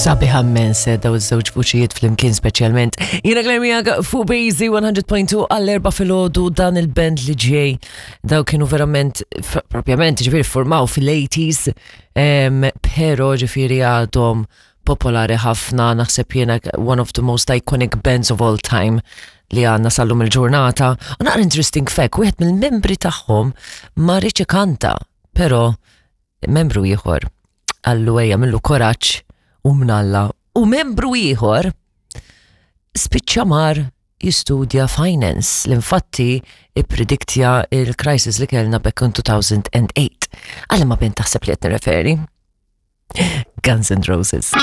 Sabiħa immens eh, daw iż-żewġ vuċijiet flimkien speċjalment. Jiena Claire miegħek fuq Bazy 100.2 għall-erba' filgħodu dan il-band li ġej. Daw kienu verament propjament ġifieri formaw fil-80s, pero ġifieri għadhom popolari ħafna, naħseb jiena one of the most iconic bands of all time li għanna sallum il-ġurnata. U naqra interesting fact, wieħed mill-membri tagħhom ma riċ ikanta, pero membru ieħor għallu ejja millu koraġġ u mnalla u membru ieħor spiċċa mar jistudja finance li infatti ipprediktja il-crisis li kellna back in 2008. Għalli ma bint taħseb li qed nirreferi? Guns N' Roses.